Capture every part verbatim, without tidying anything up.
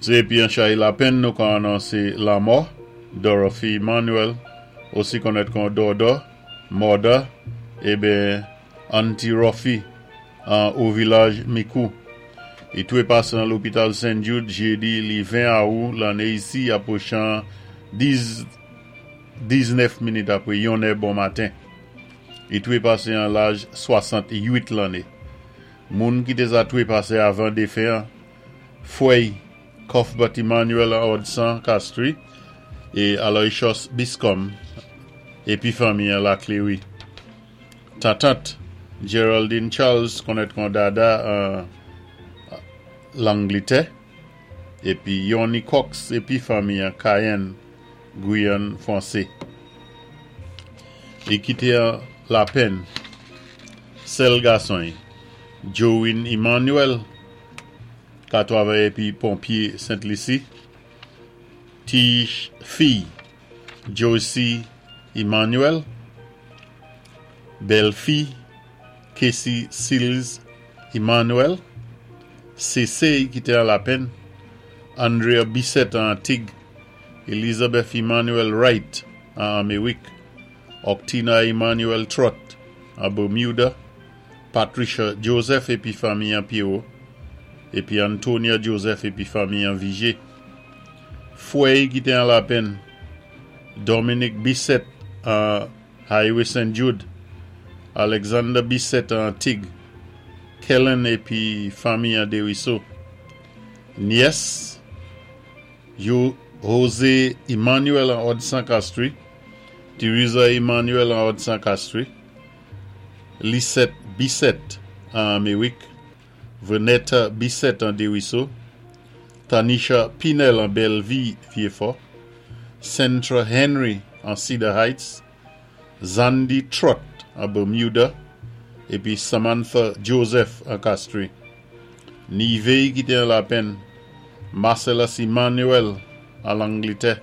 Sé épi an chay lapenn nou ka anonsé lanmò Dorothy Emmanuel, osi konnèt kon Dodo, Mother, ébyen Auntie Rofi an O Vilaj Micoud. I twé pasé an lopital Saint Jude jédi li ven awou lanné isi apwochan dis diznèf minit apwé yon è bon maten. I twé pasé an laj swasant-uit lanné. Moun ki té sa twé pasé avan défen an, fwè Cuthbert Emmanuel an Odsan Castries é Aloysius Biscom épi fanmi an La Cléry. Tantant Geraldine Charles konnèt kon Dada an Langlitè épi Yoni Cox épi fanmi an Cayenne, Guyane Fwansé. I kité an lapenn sèl gason Joe Emmanuel ka twavay épi ponpyé Sent-Lisi, ti fi Josie Emmanuel, bèl-fi Casey Seals Emmanuel, Sese ki té an lapenn, Andrea Bissett an Antig, Elizabeth Emmanuel Wright an Améwik, Octina Emmanuel Trott an Bermuda, Patricia Joseph épi fanmi an Pierrot, épi Antonia Joseph épi fanmi an Vigé. Fwè ki té an lapenn, Dominic Bissett an Highway Saint Jude, Alexander Bissett an Antig, Kellen épi fanmi an Desruisseaux. Nyès, yo José Emmanuel an Odsan Castries, Teresa Emmanuel an Odsan Castries, Lisette Bissett an Améwik, Venetta Bissett an Desruisseaux, Tanisha Pinel an Bellevue, Vieux-Fort, Centra Henry an Cedar Heights, Zandy Trott an Bermuda, épi Samantha Joseph an Castries. Nivé ki té an lapenn, Marcellus Emmanuel an Langlitè,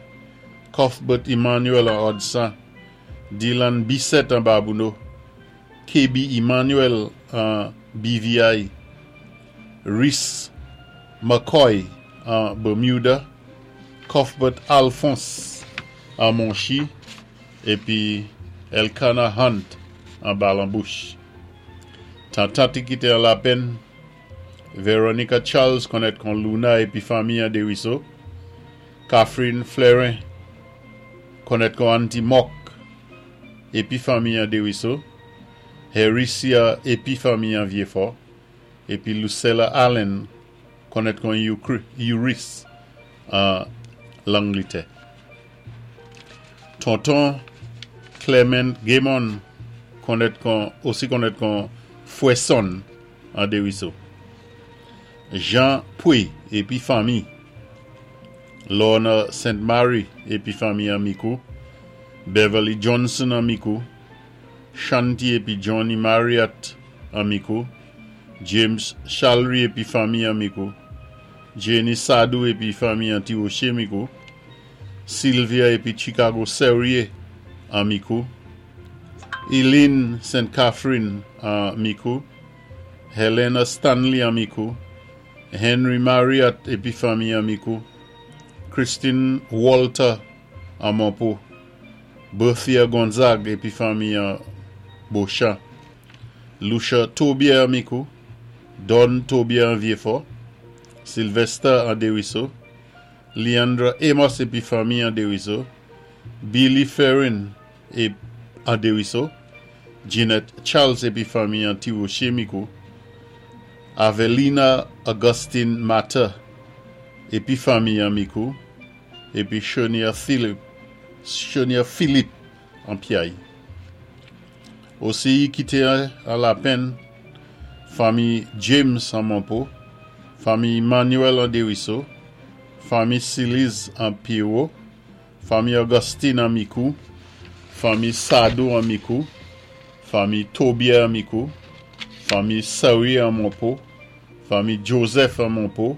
Cuthbert Emmanuel an Odsan, Dylan Bissett an Babonneau, K B Emmanuel an B V I, Rhys McCoy an Bermuda, Cuthbert Alphonse an Monchi, épi Elkana Hunt an Balambouche. Tantant ki té an lapenn, Veronica Charles konnèt kon Luna épi fanmi an Desruisseaux, Catherine Fleurin konnèt kon Auntie Mok épi fanmi an Desruisseaux, Hericia épi fanmi an Vieux-Fort, épi Lucella Allen konnèt kon Euris an Langlitè. Tonton Clement Gaymon konnèt kon, osi konnèt kon Fouesson an Desruisseaux. Jean Pouy épi fanmi, Lorna Saint Mary épi fanmi an Micoud, Beverly Johnson an Micoud, Shanti épi Johnny Marriott an Micoud, James Chalry épi fanmi an Micoud, Jenny Sadou épi fanmi an Tirocher Micoud, Sylvia épi Chicago Serrier an Micoud, Eileen Saint Catherine an Micoud, Helena Stanley an Micoud, Henry Marriott épi fanmi an Micoud, Christine Walter an Monpo, Berthia Gonzague épi fanmi an Beauchamp, Lucia Tobier an Micoud, Don Tobier an Vieux-Fort, Sylvester an Desruisseaux, Leandra Amos épi fanmi an Desruisseaux, Billy Ferrin é an Desruisseaux, Jeanette Charles épi fanmi an Tirocher Micoud, Avelina Augustine Mata épi fanmi an Micoud, épi Shonia Philippe, Shonia Philippe an Piaille. Osi ki té an lapenn fanmi James an Monpo, fanmi Emmanuel an Desruisseaux, fanmi Siliz an Pierrot, fanmi Augustine an Micoud, fanmi Sadou an Micoud, fanmi Tobier an Micoud, fanmi Saoui an Monpo, fanmi Joseph an Monpo,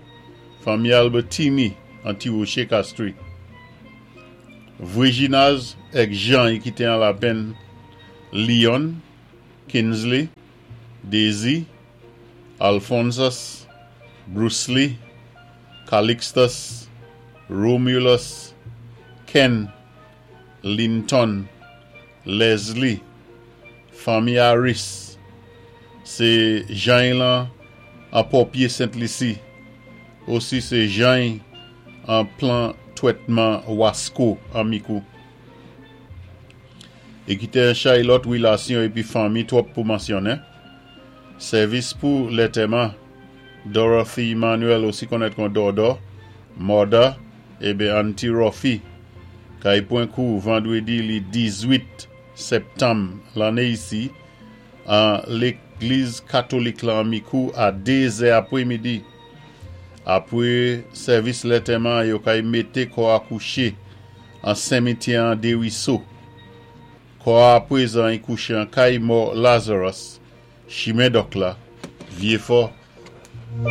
fanmi Albertini an Tirocher Castries. Virginaz ek Jean ki té an lapenn, Leon, Kinsley, Daisy, Alphonsus, Bruce Lee, Calixtus, Romulus, Ken, Linton, Leslie, fanmi Harris, sé Jean lan an Pòpyé Sent-Lisi, osi sé Jean an plan twétman Wasco an Mikou. É kité yon chay lòt wilasyon épi fanmi twòp pou mansyonnen. Sèvis pou lantèman, Dorothy Emmanuel osi konnèt kon Dodo, Mother, ébé Auntie Rofi, kay pwan kou vandwédi li diz-wit septanm lanné isi, an légliz katolik la an Mikou a dé zè apwémidi. Apwé sèvis lantèman, yo kay mété kò a kouché an simityè an Desruisseaux. Kò a apwézan i kouché an kay mò Lazarus, chimen Dòk la, Vyéfò.